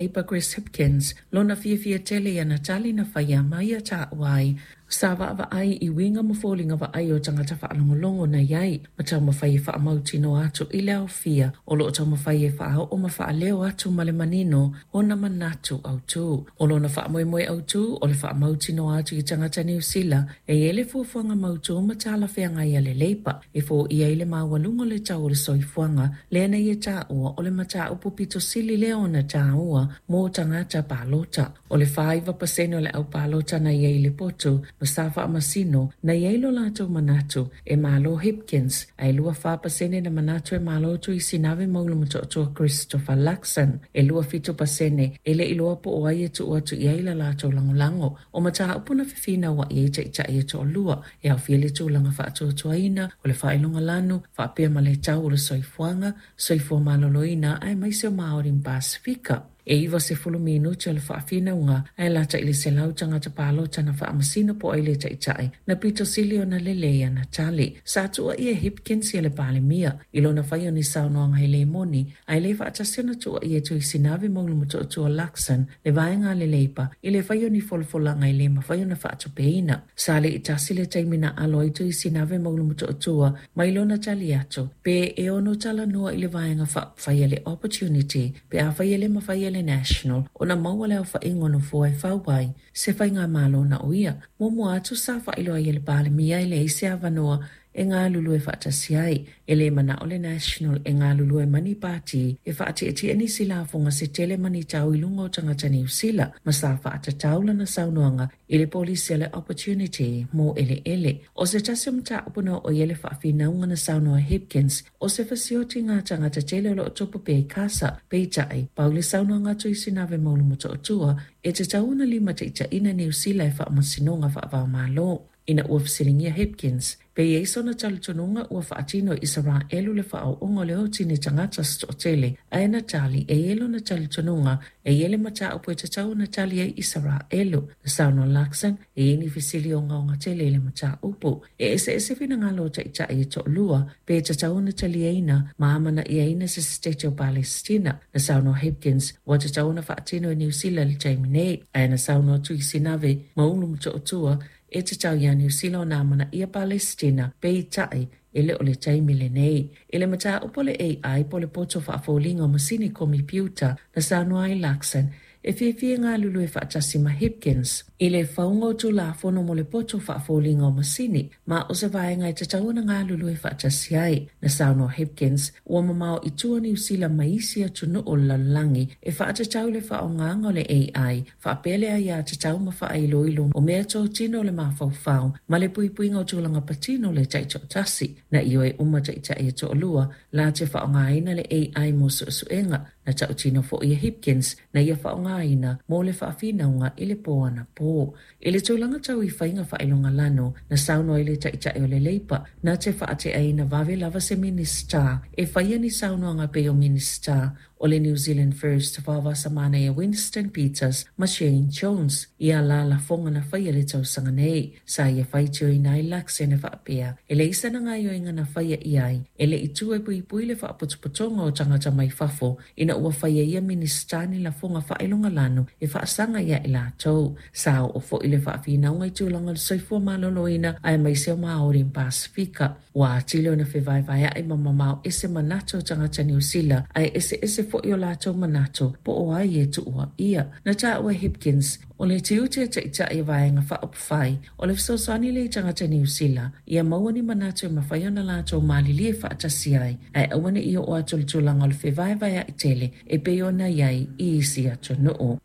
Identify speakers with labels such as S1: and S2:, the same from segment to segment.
S1: Labour Chris Hipkins lona fiafia tele i ana tali na faia ma ia taua ai sa vaavaai i uiga ma foliga vaaia o tagata faalogologo na i ai ma taumafai e faamautinoa atu i le aofia o loo taumafai e faaoo ma faaleo atu ma le manino ona manatu autū. O lona faamoemoe autū o le faamautinoa atu i tagata Niu Sila e i ai le fuafuaga mautū ma talafeagai a le Labour e foia ai le maualuga o le tau o le soifuaga lea na ia taua o le mataupu pito sili lea ona taua mo tagata palota. O le 49% o le au palota na i ai i le potu ma sa faamasino na i ai lo latou manatu e malo Hipkins, ae 24% na manatu e malo Tuisinave Maulu-Motootua Christopher Luxon. E 27% e le iloa po o ai e tuu atu i ai la latou lagolago. O mataupu na fefinauai ai taitai e toalua e aofia le tulaga faatuatuaina o le faailoga lanu faapea ma le tau o le soifuaga, soifua maloloina aemaise o Māori ma Pasifika. E 90 minute o le faafinauga ae lata i le 100 tagata palota na faamasino po o ai le taitai na pito sili ona lelei ana tali. Sa tuuaia e Hipkins ia le Palemia i lona faia o ni saunoaga e le moni ae le faatasi ona tuuaia e Tuisinave Maulu-Motootua Luxon le vaega a le Labour i le faia o ni folafolaga e le mafai ona faatupeina. Sa le i tasi le taimi na alo ai Tuisinave Maulu-Motootua mai lona tali atu pe e ono talanoa i le vaega faaupufai a le Opportunity pe afai e le mafai e le National ona maua le aofaiga o nofoa e fau ai se faigamalo na o ia. Muamua atu sa faailoa ai e le Palemia e leai se avanoa e galulue faatasi ai. E le manao le National e galulue ma ni pati e faatietie nisi lafoga se tele ma ni tau i luga o tagata Niu Sila ma sa faatatau lana saunoaga i le polisi a le Opportunity mo eleele. O se tasi o mataupu na oo i ai le faafinauga na saunoa Hipkins o se fesiotiga a tagata tele o loo tupu pea i Kasa. Peitai, pau le saunoaga a Tuisinave Maulu-Motootua e tatau ona limataitaiina Niu Sila e faamasinoga faava-o-Malo. Ina ua fesiligia Hipkins pe i ai sona talitonuga ua faatino e Isaraelu le faaooga o le oti i ni tagata se toatele, ae na tali e i ai lona talitonuga e i ai le mataupu e tatau ona tali ai Isaraelu. Na saunoa Luxon e i ai ni fesili ogaoga tele i le mataupu. E eseese finagalo o taitai e toalua pe tatau ona taliaina ma amanaiaina se Setete o Palesitina. Na saunoa Hipkins ua tatau ona faatino e Niu Sila i le taimi nei, ae na saunoa Tuisinave Maulu-Motootua e tatau iā Niu Sila ona amanaia Palesitina, peitai e le o le taimi lenei. I le mataupu o le AI po o le poto faafoliga o masini komipiuta na saunoa ai Luxon e fiafia e galulue faatasi ma Hipkins i le fauga o Tulafono mo le poto faafoliga o masini ma o se vaega e tatau ona galulue faatasi ai. Na saunoa Hipkins ua mamao i tua Niu Sila ma isi atunuu o le lalolagi e faatatau i le faaaogaga o le AI faapea le aiatatau ma faailoilo o meatotino o le mafaufau ma le puipuiga o tulaga patino o le taitoatasi. Na ioe uma taitai e toalua la te faaaogaina le AI mo suesuega. Na tautino foi e Hipkins na ia faaaogaina mo le faafinauga i le po anapo. I le tulaga tau i faiga faailoga lanu, na saunoa ai le taitai o le Labour na te faateaina vave lava se Minisita e faia ni saunoaga pei o Minisita o le New Zealand First Vaovasamanaia Winston Peters ma Shane Jones i a la lafoga na faia i le tausaga nei. Sa ia faitioina ai Luxon e faapea, e leai sana gaoioiga na faia i ai, e le i tu e puipui le faapotopotoga o tagata mai fafo ina ua faia e ia Minisita ni lafoga faailoga lanu e faasaga ia i latou. Sa oo foi le faafinauga i tulaga o le soifua maloloina aemaise o Māori ma Pasifika. Ua atili ona fevaevaeaʻi ma mamao ese manatu o tagata Niu Sila, ae eseese foi o latou manatu po o ai e tuuaia. Na taua e Hipkins, o le tiute a taitai o Vaega Faaupufai, o le fesoasoani lea i tagata Niu Sila, ia maua ni manatu e mafai ona latou malilie faatasi ai, ae aua ne i oo atu i le tulaga o le fevaevaeaʻi tele e pei ona i ai i isi atunuu.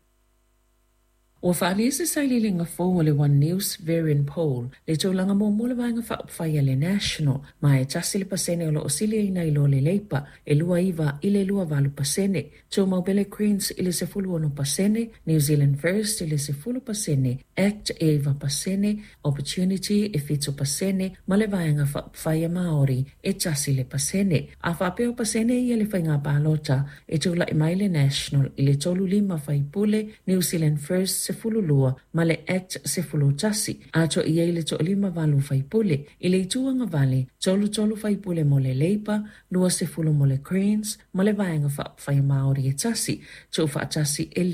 S1: Ua faaalia se sailiiliga fou a le One News Verian Poll le tulaga muamua o le Vaega Faaupufai a le National, ma e 1% o lo o siliaina i lo le Labour, e 29 i le 28%. Tumau pea le Greens i le 16%, New Zealand First i le 10%, act e 9%, Opportunity e 7% ma le Vaega Faaupufai a Māori e 1%. A faapea o pasene ia le faiga palota, e tulai mai le National i le 35 faipule, New Zealand First 12 ma le Act 11, atoa i ai le 58 faipule. I le itu agavale, 33 faipule mo le Labour, 20 mo le Greens, ma le Vaega Faaupufai a Māori e tasi, tuufaatasi e